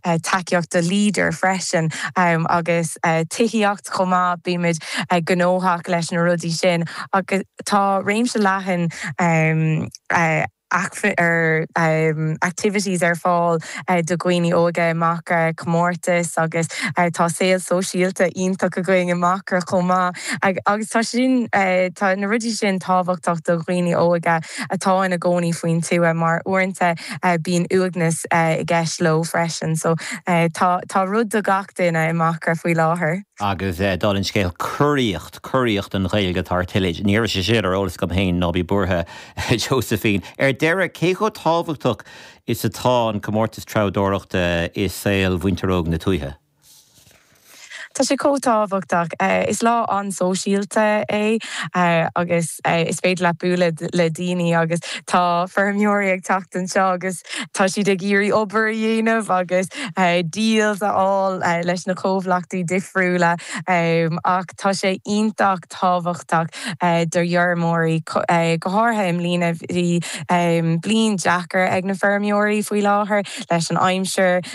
Tacaíocht do Leader freisin agus tithíocht chomh maith, bímid gnóthach leis na rudaí sin agus tá réimse leathan activities ar fáil do dhaoine óga i Macra, comórtais agus tá saol sóisialta iontach againn i Macra chomh maith agus tá sin, tá na rudaí sin tábhachtach do dhaoine óga atá ina gcónaí faoin tuath mar uaireanta bíonn uaigneas i gceist leo freisin. So tá tá rud do gach duine i Macra faoi láthair. Agus dála an scéil, curaíocht, curaíocht don Ghaeilge atá ar tuile. Ní raibh sé sin ar eolas agam féin, ná bí buartha, Josephine. Ar deireadh, cé chomh tábhachtach is atá an comórtas treabhdóireachta i saol mhuintir óg na tuaithe? Tá sé chomh tábhachtach. Is lá an-sóisialta é agus is féidir leat bualadh le daoine agus tá feirmeoirí ag teacht anseo agus tá siad ag iarraidh obair a dhéanamh agus deals a fháil leis na comhlachtaí difriúla ach tá sé iontach tábhachtach do fheirmeoirí, go háirithe i mbliana. Bhí bliain deacair ag na feirmeoirí faoi láthair leis an aimsir,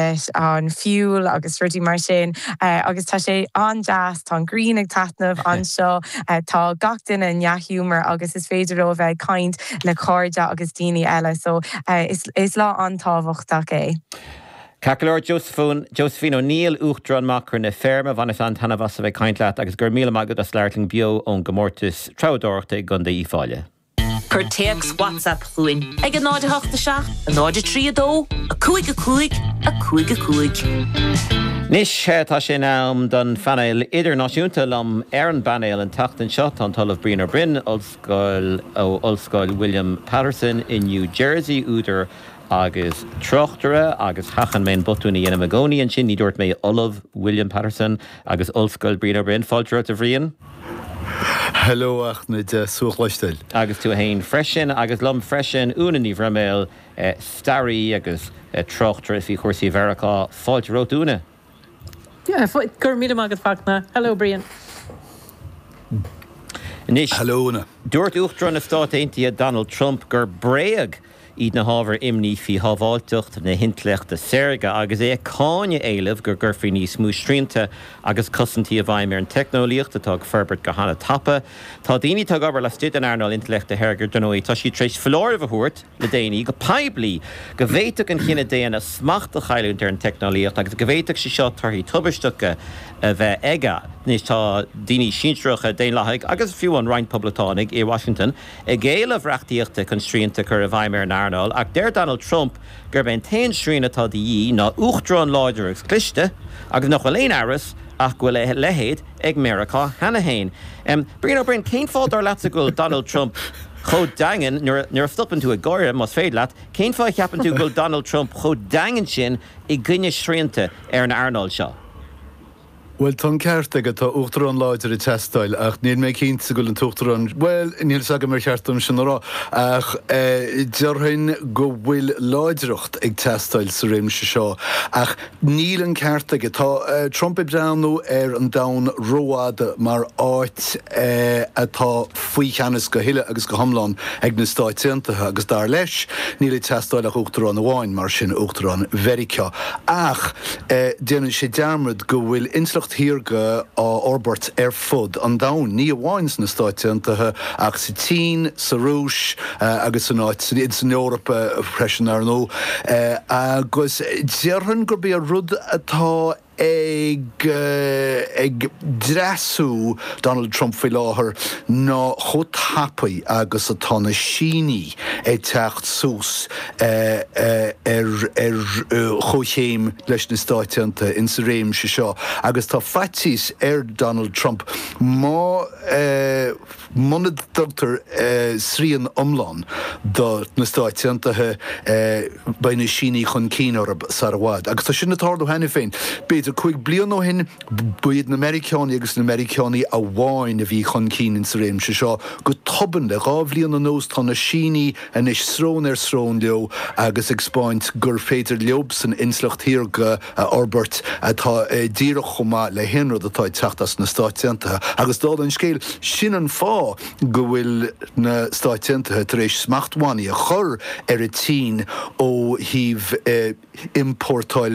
leis an fuel agus rudaí mar sin agus tá sé an-deas, tá an ghrian ag taitneamh anseo, tá gach duine i ndea-ghiúmar agus is féidir leo a bheith ag caint le cairde agus daoine eile so is lá an-tábhachtach é. Ceart go leor, Josephine, Josephine O'Neill, Uachtarán Macra na Feirme, bhaineas an-taitneamh as a bheith ag caint leat agus go raibh míle maith agat as labhairt linn beo ón gcomórtas treabhdóireachta i gContae Uíbh Fhailí. Cuir téacs WhatsApp chugainn ag 0 8 7 0 3 2 5 5 5 5. Anois tá sé in am don phainéal idirnáisiúnta. Liom ar an bpainéal an tseachtain seo tá an tOllamh Brian Ó Broin, Ollscoil ó Ollscoil William Paterson i New Jersey, údar agus tráchtaire, agus sheachain mé an botún a dhéanaim i gcónaí ansin, ní dúirt mé Ollamh William Paterson agus Ollscoil Brian Ó Broin. Fáilte romhat a Bhriain. Hello a Fhachtna, deas thú a chloisteáil. Agus tú fhéin freisin, agus liom freisin, Úna Ní Bhroiméil, staraí agus tráchtaire faoi chúrsaí Mheiriceá. Fáilte romhat Úna. Go raibh míle maith agat Fachtna. Hello Brian. Anois, Hello Úna. Dúirt Uachtarán na Stát Aontaithe Donald Trump gur bréag iad na hábhair imní faoi shábháilteacht na hintleachta saorga agus é ag cáineadh éilimh go gcuirfí níos mó srianta agus cosaintí i bhfeidhm ar an teicneolaíocht atá ag forbairt go han-tapa. Tá daoine atá ag obair laistigh den earnáil intleachta shaorga, dar ndóigh, tá siad tar éis foláireamh a thabhairt le déanaí go poiblí go bhféadfadh an chine daonna smacht a chailliúint ar an teicneolaíocht agus go bhféadfadh sé seo torthaí tubaisteacha a bheith aige. Anois tá daoine sinsearacha, Daonlathaigh agus fiú amháin roinnt Poblachtánaigh i Washington ag éileamh reachtaíochta chun srianta a chur i bhfeidhm ar an earnáil ach deir Donald Trump gurb é an t-aon srian atá de dhíth ná uachtarán láidir agus cliste agus nach bhfuil aon amhras ach go bhfuil a leithéid ag Meiriceá cheana féin. Brian Ó Broin, cén fáth dar leatsa go bhfuil Donald Trump chomh daingean, nuair a stopann tú ag gáire, más féidir leat, cén fáth a cheapann tú go bhfuil Donald Trump chomh daingean sin i gcoinne srianta ar an earnáil seo? Bhuel, tá an ceart aige, tá uachtarán láidir ag teastáil, ach níl mé cinnte go bhfuil an t-uachtarán, bhuel, níl fhios agam ar cheart dom sin a rá, ach déarfainn go bhfuil láidreacht ag teastáil sa réimse seo. Ach níl an ceart aige. Tá Trump ag breathnú ar an domhan rófhada mar áit atá faoi cheannas go huile agus go hiomlán ag na Stáit Aontaithe agus dar leis, níl ag teastáil ach uachtarán amháin, mar sin, Uachtarán Mheiriceá. Ach. Déanann sé dearmad go bhfuil intleacht shaorga á fhorbairt ar fud an domhain, ní amháin sna Stáit Aontaithe ach sa tSín, sa Rúis agus san áit, san Eoraip freisin, ar ndóigh. Agus déarfainn gurb é an rud atá ag ag dreasú Donald Trump faoi láthair ná chomh tapaidh agus atá na Sínigh ag teacht suas ar chomhchéim leis na Stáit Aontaithe insa réimse seo agus tá faitíos ar Donald Trump má muna dtugtar srian iomlán do na Stáit Aontaithe beidh na Sínigh chun cinn orthu sar i bhfad. Agus tá sin ag tarlú cheana féin. B'fhéidir 5 bliana ó shin ba iad na Meiriceánaigh agus na Meiriceánaigh amháin a bhí chun cinn insa réimse seo. Go tobann le dhá bhliain anuas tá na Sínigh anois srón ar srón leo agus ag 'spáint gur féidir leobsan intleacht shaorga a fhorbairt atá díreach chomh maith le haon rud atá ag teacht as na Stáit Aontaithe. Agus dála an scéil, sin an fáth go bhfuil na Stáit Aontaithe tar éis smachtbhannaí a chur ar an tSín ó thaobh iompórtáil.